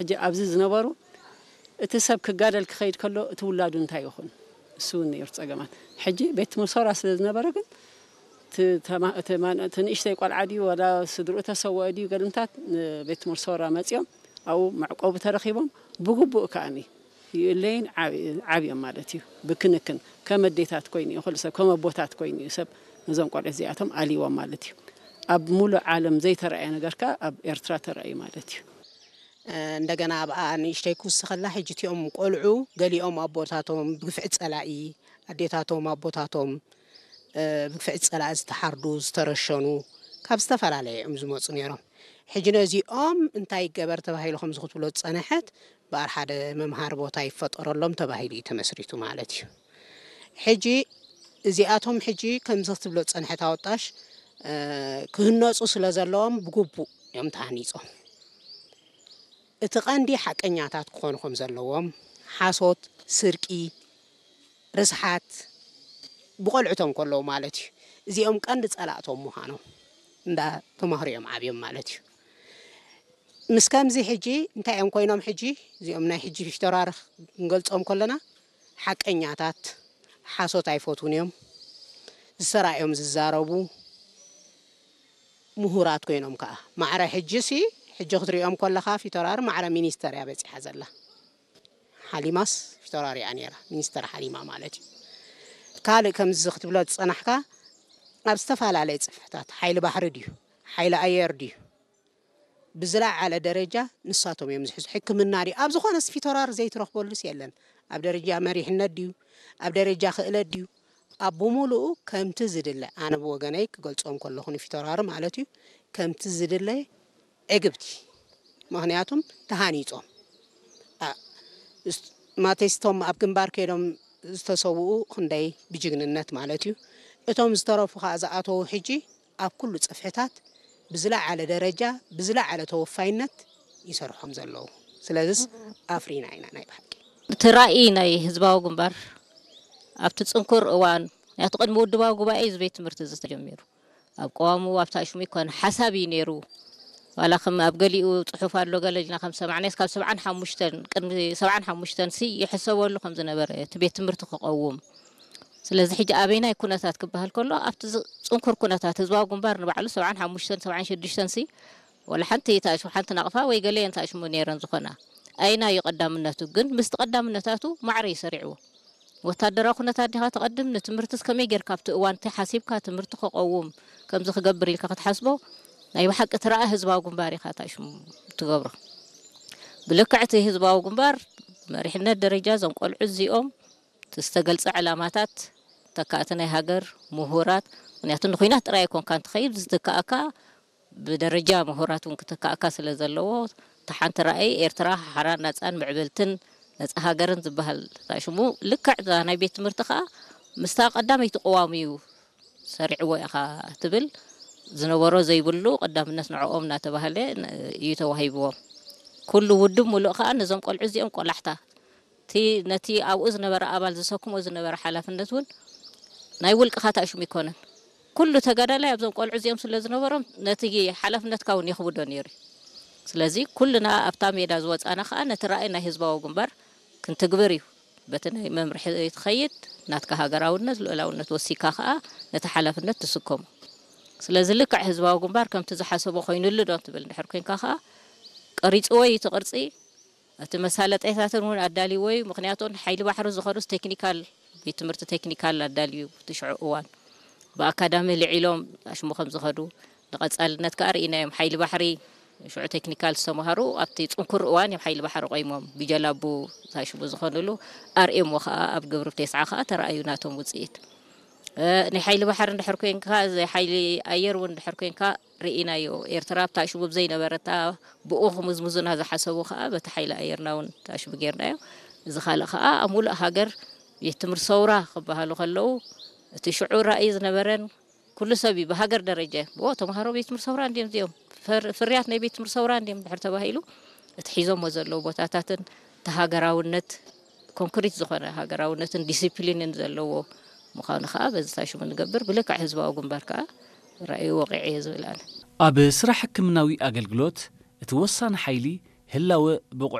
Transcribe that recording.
ሕጂ ኣብዚ ዝነበሩ እቲ ሰብ ክጋደል ክኸይድ ከሎ እቲ ውላዱ እንታይ ይኹን? እሱ እውን ነይሩ ጸገማት። ሕጂ ቤት ትምህርቲ ሰውራ ስለ ዝነበረ ግን እቲ ተማ-፣ እቲ ማን-፣ እቲ ንእሽተይ ቆልዓ ድዩ ዋላ ስድርኡ ተሰወአ ድዩ ገለምታት ንቤት ትምህርቲ ሰውራ መጺኦም ኣብኡ መዕቆቢ ተረኺቦም ብግቡእ ከኣኒ ይእለይን ዓብ-፣ ዓብዮም ማለት እዩ። ብክንክን ከም ኣዴታት ኮይኑ እዩ፣ ኩሉ ሰብ ከም ኣቦታት ኮይኑ እዩ ሰብ ነዞም ቆልዑ እዚኣቶም ኣልይዎም ማለት እዩ። ኣብ ሙሉእ ዓለም ዘይተረኣየ ነገር ከኣ ኣብ ኤርትራ ተራእዩ ማለት እዩ። እንደገና ኣብኣ ንእሽተይ ክውስኸላ፣ ሕጂ እቲኦም ቆልዑ ገሊኦም ኣቦታቶም ብግፍዒ ጸላኢ፣ ኣዴታቶም ኣቦታቶም ብግፍዒ ጸላኢ ዝተሓርዱ ዝተረሸኑ ካብ ዝተፈላለየ እዮም ዝመፁ ነይሮም። ሕጂ ነዚኦም እንታይ ይገበር ተባሂሉ ከምዚ ክትብሎ ዝፀነሐት በኣር ሓደ መምሃሪ ቦታ ይፈጠረሎም ተባሂሉ እዩ ተመስሪቱ ማለት እዩ። ሕጂ እዚኣቶም ሕጂ ከምዚ ክትብሎ ዝፀንሐት ኣወጣሽ ክህነፁ ስለ ዘለዎም ብግቡእ እዮም ተሃኒፆም። እቲ ቀንዲ ሓቀኛታት ክኾኑ ከም ዘለዎም፣ ሓሶት፣ ስርቂ፣ ርስሓት ብቆልዕቶም ከለዉ ማለት እዩ። እዚኦም ቀንዲ ጸላእቶም ምዃኖም እንዳ ተማህሩ እዮም ዓብዮም ማለት እዩ። ምስ ከምዚ ሕጂ እንታይ እዮም ኮይኖም? ሕጂ እዚኦም ናይ ሕጂ ፊተውራሪ ክንገልጾም ከለና ሓቀኛታት፣ ሓሶት ኣይፈትዉን እዮም። ዝሰራ እዮም ዝዛረቡ። ምሁራት ኮይኖም ከኣ ማዕረ ሕጂ ሲ ሕጂ ክትሪኦም ከለኻ ፊተውራሪ ማዕረ ሚኒስተር እያ በጺሓ ዘላ። ሓሊማስ ፊተውራሪ እያ ነይራ፣ ሚኒስተር ሓሊማ ማለት እዩ። ካልእ ከምዚ ክትብሎ ዝጸናሕካ ኣብ ዝተፈላለየ ጽፍሕታት ሓይሊ ባሕሪ ድዩ ሓይሊ ኣየር ድዩ ብዝለዓለ ደረጃ ንሳቶም እዮም ዝሕዙ። ሕክምና ድዩ ኣብ ዝኾነስ ፊተውራሪ ዘይትረኽበሉስ የለን። ኣብ ደረጃ መሪሕነት ድዩ ኣብ ደረጃ ክእለት ድዩ ኣብ ብምሉኡ ከምቲ ዝድለ ኣነ ብወገነይ ክገልጾም ከለኹ ንፊተውራሪ ማለት እዩ ከምቲ ዝድለ ዕግብቲ ምኽንያቱም ተሃኒጾም ኣ- እስ- ማቴስቶም ኣብ ግንባር ከይዶም ዝተሰውኡ ክንደይ ብጅግንነት ማለት እዩ እቶም ዝተረፉ ከዓ ዝኣተዉ ሕጂ ኣብ ኩሉ ጽፍሕታት ብዝለዓለ ደረጃ ብዝለዓለ ተወፋይነት ይሰርሖም ዘለዉ ስለዚስ ኣፍሪና ኢና ናይ ብሓቂ እቲ ራእይ ናይ ህዝባዊ ግንባር ኣብቲ ጽንኩር እዋን ምክንያቱ ቅድሚ ውድባዊ ጉባኤ እዚ ቤት ትምህርቲ እዚ ተጀሚሩ ኣብ ቀዋሙ ኣብቲ ኣሽሙ ይኮነ ሓሳብ እዩ ነይሩ ዋላ ከም ኣብ ገሊኡ ፅሑፍ ኣሎ ገለ ኢልና ከም ሰማዕናስ ካብ ሰብዓን ሓሙሽተን ቅድሚ ሰብዓን ሓሙሽተን ሲ ይሕሰበሉ ከም ዝነበረ እቲ ቤት ትምህርቲ ክቐውም ስለዚ ሕጂ ኣበይናይ ኩነታት ክበሃል ከሎ ኣብቲ ዝ- ፅንኩር ኩነታት ህዝባዊ ግንባር ንባዕሉ ሰብዓን ሓሙሽተን ሰብዓን ሽዱሽተን ሲ ወላ ሓንቲ ተኣሽሙ ሓንቲ ናቕፋ ወይ ገለየን ተኣሽሙ ነይረን ዝኾና ኣይና እዩ ቀዳምነቱ ግን ምስቲ ቀዳምነታቱ ማዕረ እዩ ሰሪዕዎ ወታደራዊ ኩነታት ዲኻ ትቐድም ንትምህርትስ ከመይ ጌርካ ኣብቲ እዋን እቲ ሓሲብካ ትምህርቲ ክቐውም ከምዚ ክገብር ኢልካ ክትሓስቦ ናይ ብሓቂ ትረኣ ህዝባዊ ግንባር ኢኻ ታሽሙ ትገብሮ ብልክዕ እቲ ህዝባዊ ግንባር መሪሕነት ደረጃ እዞም ቆልዑ እዚኦም ዝተገልፀ ዕላማታት ተካእቲ ናይ ሃገር ምሁራት ምክንያቱ ንኩናት ጥራይ ኣይኮንካ እንትኸይድ ዝተካእካ ብደረጃ ምሁራት እውን ክተካእካ ስለ ዘለዎ እታ ሓንቲ ራእይ ኤርትራ ሓራን ናፃን ምዕብልትን ነፃ ሃገርን ዝበሃል እታ ሽሙ ልክዕ እዛ ናይ ቤት ትምህርቲ ከዓ ምስታ ቀዳመይቲ ቅዋም እዩ ሰሪዕዎ ኢኻ ትብል ዝነበሮ ዘይብሉ ቀዳምነት ንዕኦም እናተባህለ እዩ ተዋሂብዎም ኩሉ ውድብ ሙሉእ ከዓ ነዞም ቆልዑ እዚኦም ቆላሕታ እቲ ነቲ ኣብኡ ዝነበረ ኣባል ዝሰክሞ ዝነበረ ሓላፍነት እውን ናይ ውልቅኻ ታእሽሙ ይኮነን ኩሉ ተጋዳላይ ኣብዞም ቆልዑ እዚኦም ስለ ዝነበሮም ነቲ ሓላፍነትካ እውን የኽብዶ ነይሩ እዩ ስለዚ ኩልና ኣብታ ሜዳ ዝወፃና ከዓ ነቲ ራእይ ናይ ህዝባዊ ግንባር ክንትግብር እዩ በቲ ናይ መምርሒ ትኸይድ ናትካ ሃገራውነት ልኡላውነት ወሲካ ከዓ ነቲ ሓላፍነት ትስከሞ ስለዚ ልክዕ ህዝባዊ ግንባር ከምቲ ዝሓሰቦ ኮይኑሉ ዶ ትብል እንድሕር ኮንካ ከዓ ቀሪፅዎ እዩ እቲ ቅርፂ እቲ መሳለጠይታትን እውን ኣዳልይዎ እዩ ምክንያቱ ሓይሊ ባሕሪ ዝኸዱስ ቴክኒካል ቤት ትምህርቲ ቴክኒካል ኣዳልዩ ትሽዑ እዋን ብኣካዳሚ ልዒሎም ኣሽሙ ከም ዝኸዱ ንቐፃልነት ከዓ ርኢናዮም ሓይሊ ባሕሪ ሽዑ ቴክኒካል ዝተምሃሩ ኣብቲ ፅንኩር እዋን እዮም ሓይሊ ባሕሪ ቆይሞም ብጀላቡ ታሽሙ ዝኾኑሉ ኣርእየሞ ከዓ ኣብ ግብሪ ቴስዓ ከዓ ተረኣዩ ናቶም ውፅኢት ናይ ሓይሊ ባሕሪ እንድሕር ኮንካ ሓይሊ ኣየር እውን እንድሕር ኮንካ ርኢናዮ። ኤርትራ ኣብታ ሽቡብ ዘይነበረታ ብኡ ክምዝምዙና ዝሓሰቡ ከኣ በቲ ሓይሊ ኣየርና እውን ታሽቡ ጌርናዮ። እዚ ካልእ ከኣ ኣብ ሙሉእ ሃገር ቤት ትምህርቲ ሰውራ ክበሃሉ ከለዉ እቲ ሽዑ ራእይ ዝነበረን ኩሉ ሰብ እዩ ብሃገር ደረጀ ብኦ ተምሃሮ ቤት ትምህርቲ ሰውራ እንዲዮም እዚኦም ፍርያት ናይ ቤት ትምህርቲ ሰውራ እንዲዮም ድሕር ተባሂሉ እቲ ሒዞሞ ዘለዉ ቦታታትን እቲ ሃገራውነት ኮንክሪት ዝኾነ ሃገራውነትን ዲሲፕሊንን ዘለዎ ምዃኑ ከኣ በዚ ታሽሙ ንገብር ብልክዕ ህዝባዊ ግንባር ከኣ ራእዩ ወቒዐ እየ ዝብል ኣነ። ኣብ ስራሕ ሕክምናዊ ኣገልግሎት እቲ ወሳኒ ሓይሊ ህላወ ብቑዕ